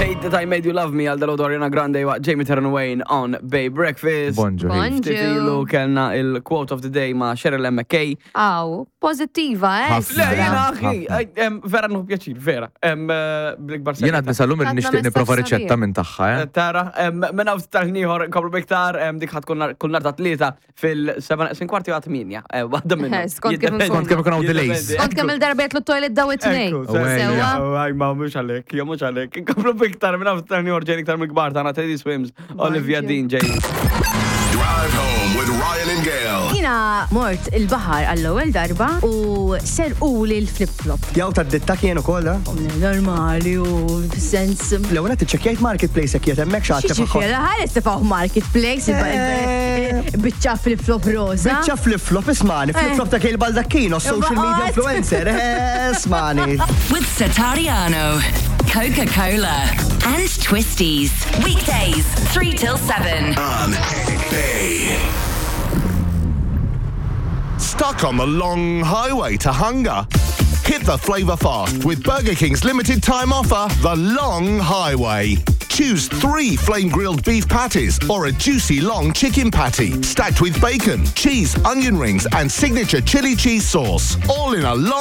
Hate That I Made You Love Me għal dalgħodu Ariana Grande waqt Jamie Terran Wayne on Bay Breakfast. Bonġu. Bonġu. Ftit ilu kellna il-quote of the day ma' Cheryl McKay. Aw, pozittiva, eh? Ħafna. Le, jena Ħafna. akhi, vera nħu pjaċir, vera. Bl-ikbar Jena għadni sal-lum Għadna nixtieq niprofa messaġġ riċetta sabiħ. minn tagħha, eh? Tara, minn hawn tal-ieħor nkomplu biktar, dik ħadd kull nar ta' tlieta fil-7 sin kwarti għat 8. Waħda minnhom. Eh, skont kif Jiddependi. Skont kemm ikun hawn delays. Jiddependi. Kont kemm il-darba jitlu toilet daw it-tnejn. Ekku, Sewwa. Sewa. Aj, ma mux għalek, jo mux għalek. Nkomplu biktar minn hawn tal-ieħor ġejn iktar mill-kbar tagħna Teddy Swims, Olivia Bonġu. Dean ġej. Drive home with Ryan and Gail. Jina mort il-bahar għall-ewwel darba u serquli l-flip-flop. Jaw ta' ditta kien ukoll, eh? Normali u sens. L-ewwel qed iċċekkjajt marketplace jekk qiegħed hemmhekk xi ħadd Xiġifieri, ħares tifgħu marketplace biċċa flip-flop rosa. Biċċa flip-flop ismani, flip-flop ta' Kale Baldacchino, social media Baqgħet. influencer, eh, ismani. With Satariano, Coca Cola, and Twisties. Weekdays, 3 till 7. On Bay. Stuck on the long highway to hunger? Hit the flavour fast with Burger King's limited time offer, The Long Highway. Choose three flame grilled beef patties or a juicy long chicken patty, stacked with bacon, cheese, onion rings, and signature chili cheese sauce. All in a long